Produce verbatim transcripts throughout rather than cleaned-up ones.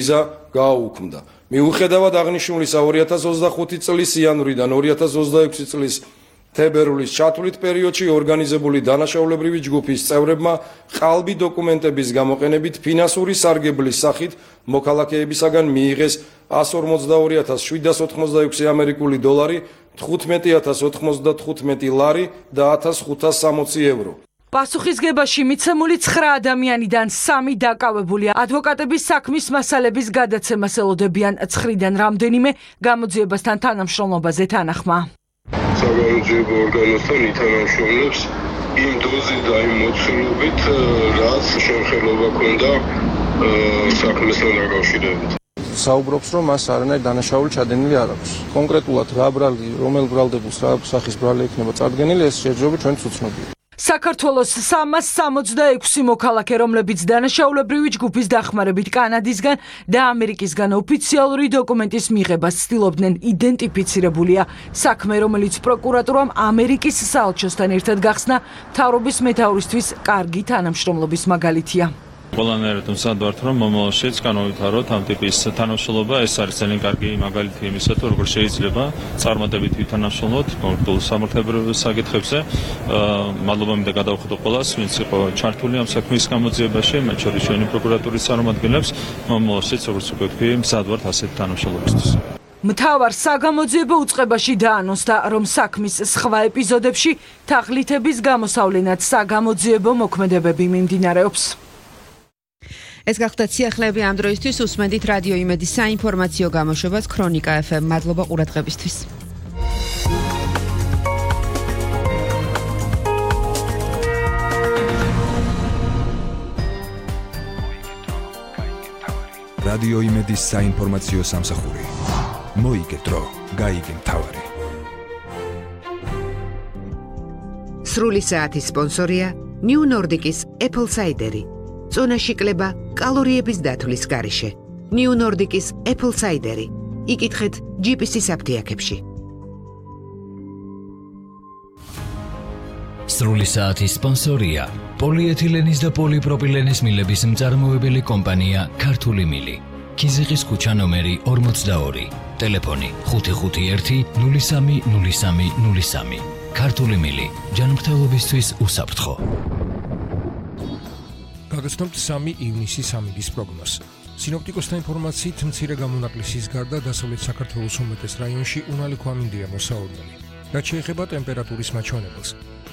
ვიზა გააუქმდა. მიუხედავად აღნიშნულისა ორი ათას ოცდახუთი წლის იანვრიდან ორი ათას ოცდაექვსი წლის თებერვლის ჩათვლით პერიოდში ორგანიზებული დანაშაულებრივი ჯგუფის წევრებმა ყალბი დოკუმენტების გამოყენებით ფინანსური სარგებლის სახით მოქალაქეებისაგან მიიღეს ას ორმოცდაორი ათას შვიდსათ ოთხმოცდაექვსი ამერიკული დოლარი, თხუთმეტი ათას ოთხმოცდათხუთმეტი ლარი და ათას ხუთას სამოცი ევრო. პასუხისგებაში მიცემული ცხრა ადამიანიდან სამი დაკავებულია ადვოკატების საქმის მასალების გადაცემას ელოდებიან ცხრიდან რამდენიმე გამოძიებასთან თანამშრომლობაზე თანახმა. საგამოძიებო ორგანოსთან ითანამშრომლებს იმ დოზით და იმ მოცულობით, რაც შემხელობა ქონდა საქმესთან დაკავშირებით. საუბრობს, რომ მას არანაირი დანაშაული ჩადენილი არ აქვს. კონკრეტულად რა ბრალი, რომელ ბრალდებულს რა სახის ბრალი ექნება წარდგენილი, ეს შეჯობებით ჩვენც უცნობია. საქართველოს სამას სამოცდაექვსი მოქალაქე, რომლებიც დანაშაულებრივი ჯგუფის დახმარებით კანადისგან და ამერიკისგან ოფიციალური დოკუმენტის მიღებას ცდილობდნენ, იდენტიფიცირებულია. საქმე, რომელიც პროკურატურამ ამერიკის საელჩოსთან ერთად გახსნა, მთავრობის მეთაურისთვის კარგი თანამშრომლობის მაგალითია. ყველანაირად მზად ვართ, რომ მომავალშიც განავითაროთ ამ ტიპის თანამშრომლობა. ეს არის ძალიან კარგი მაგალითი იმისა, თუ როგორ შეიძლება წარმატებით ვითანამშრომლოთ კონკრეტულ სამართლებრივ საკითხებზე. მადლობა მინდა გადავხადო ყველას, ვინც იყო ჩართული ამ საქმის გამოძიებაში, მათ შორის ჩვენი პროკურატურის წარმომადგენლებს. მომავალშიც, როგორც უკვე ვთქვი, მზად ვართ ასეთი თანამშრომლობისთვის. მთავარ საგამოძიებო უწყებაში დაანონსდა, რომ საქმის სხვა ეპიზოდებში თაღლითების გამოსავლენად საგამოძიებო მოქმედებები მიმდინარეობს. ეს გახდათ სიახლეები ამ დროისთვის. უსმენთ რადიო იმედის საინფორმაციო გამოშვებას ქრონიკა ეფ ემ. მადლობა ყურადღებისთვის. რადიო იმედის საინფორმაციო სამსახური. მოიგეთრო, გაიგე მთავარი. სრული საათის სპონსორია New Nordic-ის Apple Cider-ი. წონაში კლება კალორიების დათვლის გარეშე. New Nordic-ის Apple Cider-ი. იკითხეთ ჯი პი სი-ის აფთიაქებში. სრული საათის სპონსორია პოლიეთილენის და პოლიპროპილენის მილების მწარმოებელი კომპანია ქართული მილი. ქიზიყის ქუჩა ნომერი ორმოცდაორი. ტელეფონი ხუთი ხუთი ერთი ნული სამი ნული სამი ნული სამი. ქართული მილი ჯანმრთელობისთვის უსაფრთხო. გაგაცნობთ სამი ივნისის ამიდის პროგნოზს. სინოპტიკოსთა ინფორმაციით, მცირე გამონაკლისის გარდა დასავლეთ საქართველოს უმეტეს რაიონში უნალი ქვამინდია მოსაოდნელი. რაც შეეხება ტემპერატურის მაჩვენებელს,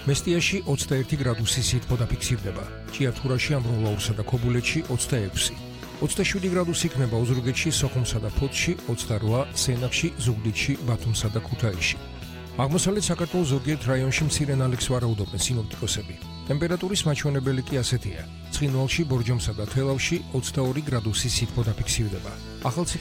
მესტიაში ოცდაერთი გრადუსი სითბო დაფიქსირდება, ჭიათურაში, ამბროლაურსა და ქობულეთში ოცდაექვსი, ოცდაშვიდი გრადუსი იქნება ოზურგეთში, სოხუმსა და ფოთში, ოცდარვა, სენაკში, ზუგდიდში, ბათუმსა და ქუთაისში. აღმოსავლეთ საქართველოს ზოგიერთ რაიონში მცირე ნალექს ვარაუდობენ სინოპტიკოსები. ტემპერატურის მაჩვენებელი კი ასეთია: ცხინვალში, ბორჯომსა და თელავში ოცდაორი გრადუსი სითბო დაფიქსირდება. ახალციხე